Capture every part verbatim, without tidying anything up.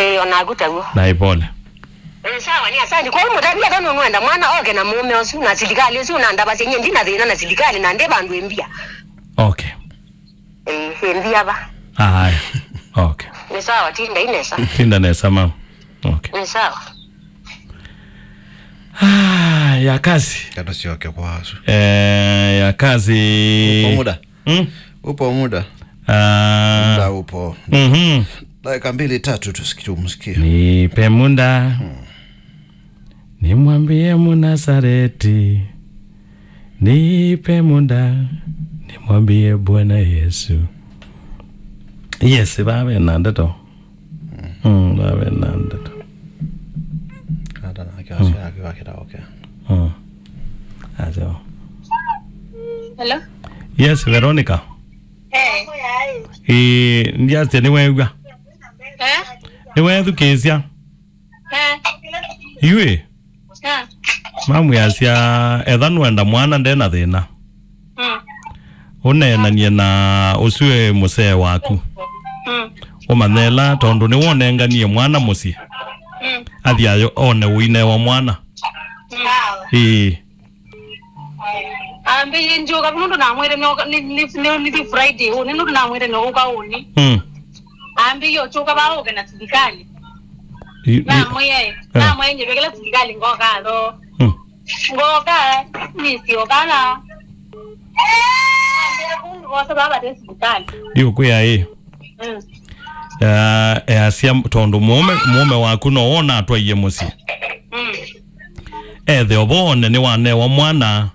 Ĩĩ, o naku taw'o. Na ipole. Ĩĩ, sawa, nĩ asante. Kwa hiyo mũtavia kana nũenda mwana oke na mũũme ũsu na silikalĩ ũsu, na ndavasya nyie ndina thĩna na silikalĩ na ndĩ vandũ ĩmbia. Okay. Ĩĩ, ĩmbia va. Aya. Okay. Nĩ sawa, tinda inesa. Tinda nesa, mama. Okay. Nĩ sawa. Ah, ya kazi. Kata sioke kwa asu. Eh, ya kazi. Upo muda? Hmm? Upo muda? Ah. Muda upo. Mhm. Dakika mbili, tatu tusiki-, tumsikie. Nipe muda. Hmm. Nimwambie Mnasareti. Nipe muda. Nimwambie Bwana Yesu. Yes, vave na ndeto. Mm, vave na ndeto. Hata na kiasi yake wakita okay. Mm. Azo. Hello? Yes, Veronica. Eh. Eh, ndiasya nĩweew'a. Eh? Nĩweethukĩĩsya. Eh. Yu ĩ? Eh. Mamwĩasya, etha nũenda mwana nde na thĩna. Mm. Ũneenanie na ũsu e mũsee waku. Mm. Ũmanyela tondũ nĩwonenganie mwana mũsyĩ. Mm. Athi ayo one ũinewa mwana. Mm. Ĩĩ. Ambĩie ndyũka, nũndũ namwĩre nĩ, nĩ, nĩ, nĩ, nĩ Friday ũnĩ, nũndũ namwĩre nĩ ũka ũnĩ. Mm. Ambĩie ũkyũka vaa ũke na silikalĩ. I, i, namwĩe, eh. Namwĩe nyĩvekela silikalĩ ngoka tho. Mm. Ngoka, nĩsyoka na. Ambĩie kũndũ vosa vaa vate silikalĩ. Ndiũkwĩa ĩ. Mm. Eh, easya tondũ mũũme, mũũme waku no wona atwaie mũsyĩ. Mm. Ethe ovone nĩwanewa mwana.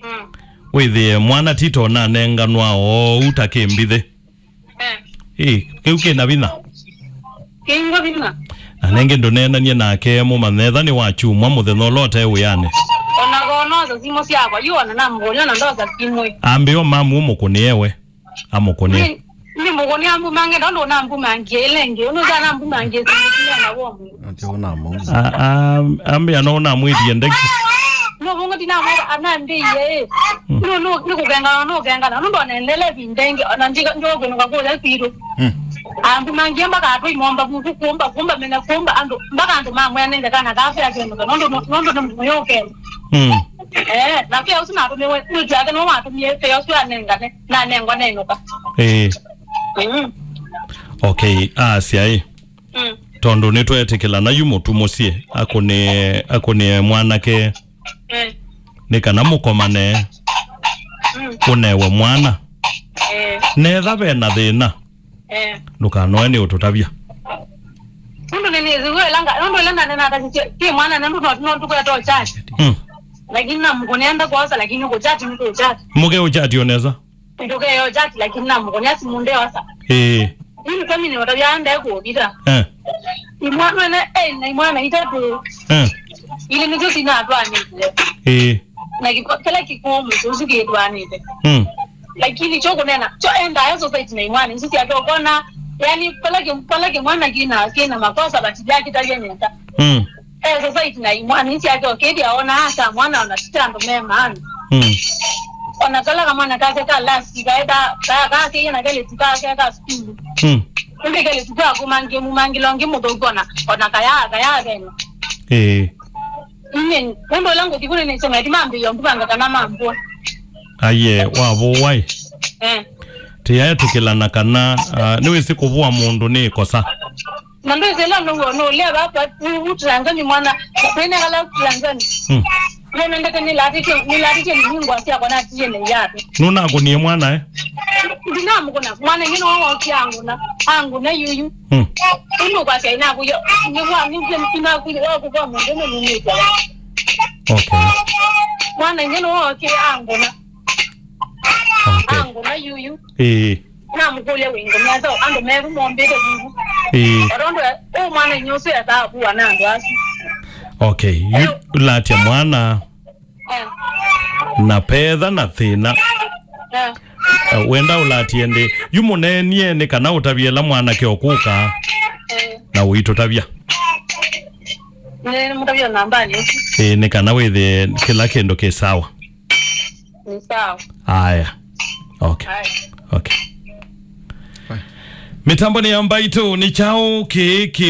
Mm. Wĩthĩe mwana tito nanenganwa oou ta kĩmbithĩ. Eh. Ĩ, kĩu kĩna vinya. Kĩingo vinya. Na nengĩ ndũneenanie nake mũmanye etha nĩwakyumwa mũthenya ũla ũte wĩanĩ. Ona konosa simũ syakwa, yu ona namũkũnĩa na ndosa simũ. Ambĩo mamu ũmũkũnĩe we. Amũkũnĩa. Nĩ, nĩ mũkũnĩa ambumange, ndondo nambumangie, ĩla ĩngĩ, ũnũza nambumangie, simũ na womu. Ati ũnamũmũ. A, a, ambĩa no namwĩthie ndeki. No, vungu ndinamwĩra, anambĩie, ĩ. Mm. No, no, nĩ kũkengana, no kũkengana, no ndonendele vinda ĩngĩ, ona ndiga, ndio kwĩnuka kũya kwitũ. Mm. Ambumangie mpaka atũ imomba vuku, kumba, kumba, menya kumba, andũ, mpaka andũ mamwĩa nenge kana kafe akĩnuka, nondo, nondo nĩ mũyũkene. Mm. Eh, na pia ũsu natũmĩwe, mwĩtu yake no watũmie, pia ũsu anengane. Nanengwa nenũka. Ĩĩ. Mm. Okay, asya ĩ. Mm. Tondũ nĩtweetĩkĩlana yu mũtu mũsyĩ, akũnĩe, akũnĩe mwanake, mm, nĩ kana mũkomane, mm, ũnewe mwana. Eh. Netha ve na thĩna, eh, ndũkanoe nĩ ũtũtavya. Nũndũ nĩnĩsĩ wĩla nga, nũndũ ĩla ndanena atasisye, ti mwana na nũndũ no, no tũkweta uchati. Mm. Lakini namũkũnenda kwosa, lakini kũchati nĩ kũchati. Mũke uchati onesa. Ndũkeyo chat, lakini namũkũnĩa simũ ndeosa. Ĩĩ. Mimi kama ni watavya ndekũvitha. Eh. Imwana ene, eh, na imwana itatũ. Eh. Ile nĩsyo sinatwanĩte. Ĩĩ. Na kĩla kĩkũũ mũndũ ũsu kĩtwanĩte. Mm. Lakini kyo kũnena, kyo endaa society na imwana isu syake ũkona, yani, pala kĩ-, pala kĩmwana kĩna, kĩna makosa, but yakĩtavya nesa. Mm. Eh, society na imwana isu syake ũkĩthĩa ona asa mwana ona sita andũ me maana. Mm. Ona kala kamwana kake ka last kae ka, ka, ka, keiye na kele tuka ke ka school. Mm. Kumbe kele tuka kumangi, mumangi longi mũthũku ona, ona kaya, kaya veno. Eh. Nini, nendo langu kikune ni sema, eti mambi yo, mbanga kana mambua. Aye, wavũwa ĩ. Eh. Tĩyaetĩkĩlana kana, ah, nĩwĩsĩ kũvũa mũndũ nĩ ĩkosa. Na ndwĩsĩ ĩla nũw'o nũlea vapa, ũu Tanzania mwana, kwĩnekala Tanzania. Mm. Nĩnendete nĩlatĩtye, nĩlatĩtye nĩningwa syakwa natiye nĩ yapi. Nũnakũnie mwana, eh? Ndinamũkũna, mwana ingĩ nĩwe wokie angũna, angũna yuyu. Mm. Ĩndĩ ũkwasya inakuya, nĩwa, nĩwa, inakuya, wakũkwa mũndũ nĩnumĩte. Okay. Mwana ingĩ nĩwe wokie angũna. Okay. Angũna yuyu. Ĩĩ. Namũkũlya wĩ ngũmya ta andũ meru mombĩte vivu. Ĩĩ. Atondo ũ mwana inyusu ya thabu wa na andũ asu. Okay, yu latya mwana. Eh. Na petha na thĩna. Eh. Eh, wenda ũlatie ndi. Yu mũneenie nĩ kana ũtavye la mwanake ũkũka. Eh. Na ũitũtavya. Nĩ mũtavya nambani. Ĩĩ, nĩ kana wĩthĩe kĩla kĩndũ kĩ sawa. Ni sawa. Aya. Okay. Aya. Okay. Mĩtambo nĩ ya mbaitũ, nĩ kyaũ kĩĩ kĩ